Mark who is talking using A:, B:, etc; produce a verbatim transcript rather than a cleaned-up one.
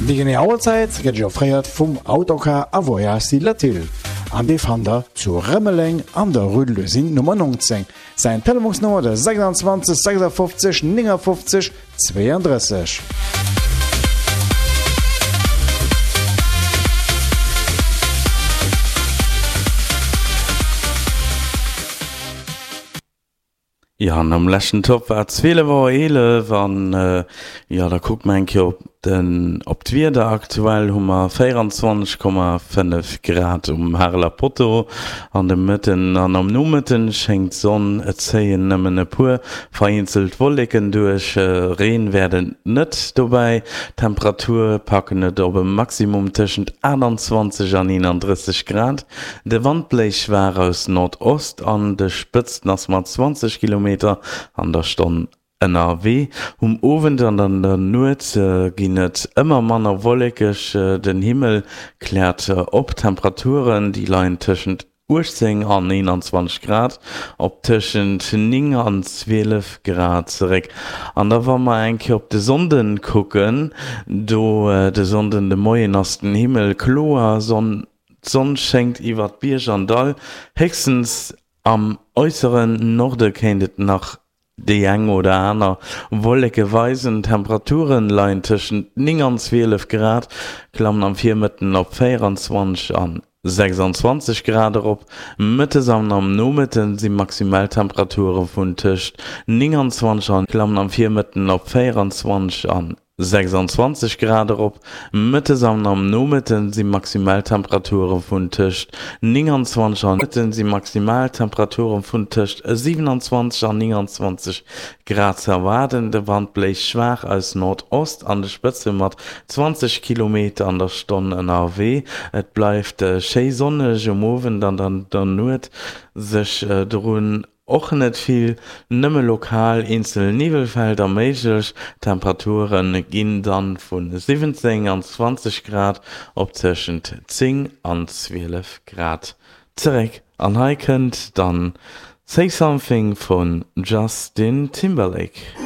A: Déi genee Auerzäit gëtt Iech offréiert vum Autocar a Voyages Latil an dee fannt der zu Rëmeleng an der Rue de l'Usine Nummer neunzéng. Säin Telefonsnummer de sechsundzwanzeg sechsundfünfzig neunundfünfzig zweiunddrësseg.
B: Jo, an am leschten Topp war et zwielef Auer eelef an jo, da kucke mer eng Kéier op den, op d'Wieder. Aktuell hu mer véieranzwanzeg Komma fënnef Grad um Hareler Potto. An de Mëtten an am Nomëtten schéngt d'Sonn, et zéien nëmmen e puer vereenzelt Wolleken duerch, Reen wäert et net dobäi. D'Temperature packen et op e Maximum tëschent aachtanzwanzeg an eenandrësseg Grad. De Wand bléist schwaach aus Nordost an de Spëtzten ass mat zwanzeg Kilometer an der Stonn ënnerwee. Um Owend an an der Nuet ginn et ëmmer manner wollekeg, den Himmel kläert op. D'Temperaturen déi leien tëschent uechtzéng an eenanzwanzeg Grad, op tëschent néng an zwielef Grad zeréck. An da wa mer eng Kéier op de Sonnden kucken, do de Sonnden de Moien ass den Himmel kloer, Sonn D'Sonn schéngt iwwert Bierg an Dall, héchstens am äusseren Norde kéint et nach déi eng oder aner Wolleke weisen. D'Temperature leien tëschent néng an zwielef Grad, klammen am Virmëtten op véieranzwanzeg an sechsandzwanzeg Grad erop. Mëttes an am Nomëtte si Maximaltemperature vun tëscht nénganzwanzeg an klammen am Virmëtten op véieranzwanzeg an sechsandzwanzeg Grad erop. Mëttes an am Nomëtte si Maximaltemperature vun tëscht nénganzwanzeg an Mëtte si Maximaltemperature vun tëscht siwenanzwanzeg an nénganzwanzeg Grad ze erwaarden. De Wand bléist schwaach aus Nordost, an de Spëtze mat zwanzeg Kilometer an der Stonn ënnerwee. Et bleift schéi sonneg um Owend an an der Nuet sech drun Och net vill, nëmme lokal eenzel Niwwelfelder méiglech. D'Temperature ginn dann vu siwwenzéng an zwanzeg Grad op tëschent zéng an zwielef Grad zeréck. An hei kënnt dann Say Something vun Justin Timberlake.